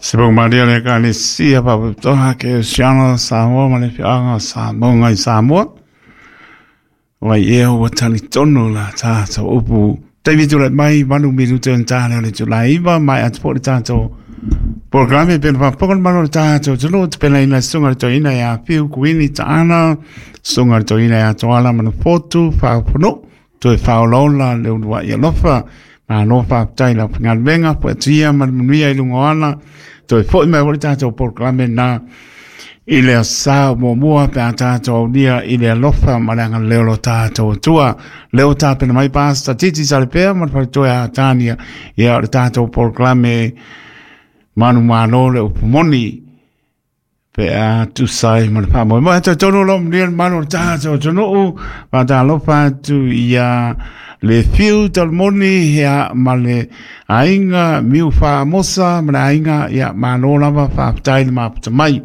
Se pau malia le Ekalesia Faapitoa Kerisiano o Samoa ma le Afioaga o Samoa i Samoa. Ua ea ua talitonu la tatou upu. Taimi tulai mai 8 minute ona ta lea o le itula e 9, maea atu foi le tatou polokalame pei ona faafofoga le malo o le tatou atunuu tapenaina le susuga i le toeaina ia Fiu Kuini Taana, susuga i le toeaina ia Toala Manufotu Faaofonuu, toe faaolaola le uluai alofa. Malo faafetai i lau faigaluega, fuatia ma le manuia i luga o ala. Toe foi mai foi le tatou polokalame na i le aso muamua pe a tatou aulia i le alofa ma le agalelei o lo tatou Atua. Lea ua tapena mai Pastor Titi Salepea ma le faletua ia Tania, ia o le tatou polokalame manumalo le upu moni pe a tusa ai ma le faamoemoe. Talitonu o lo o manuia le mamalu o le tatou atunuu, faatalofa atu ia le Fiu Talamoni ia, ma le aiga Miu Faamosa ma le aiga, ia malo lava, faafetai le mafuta mai.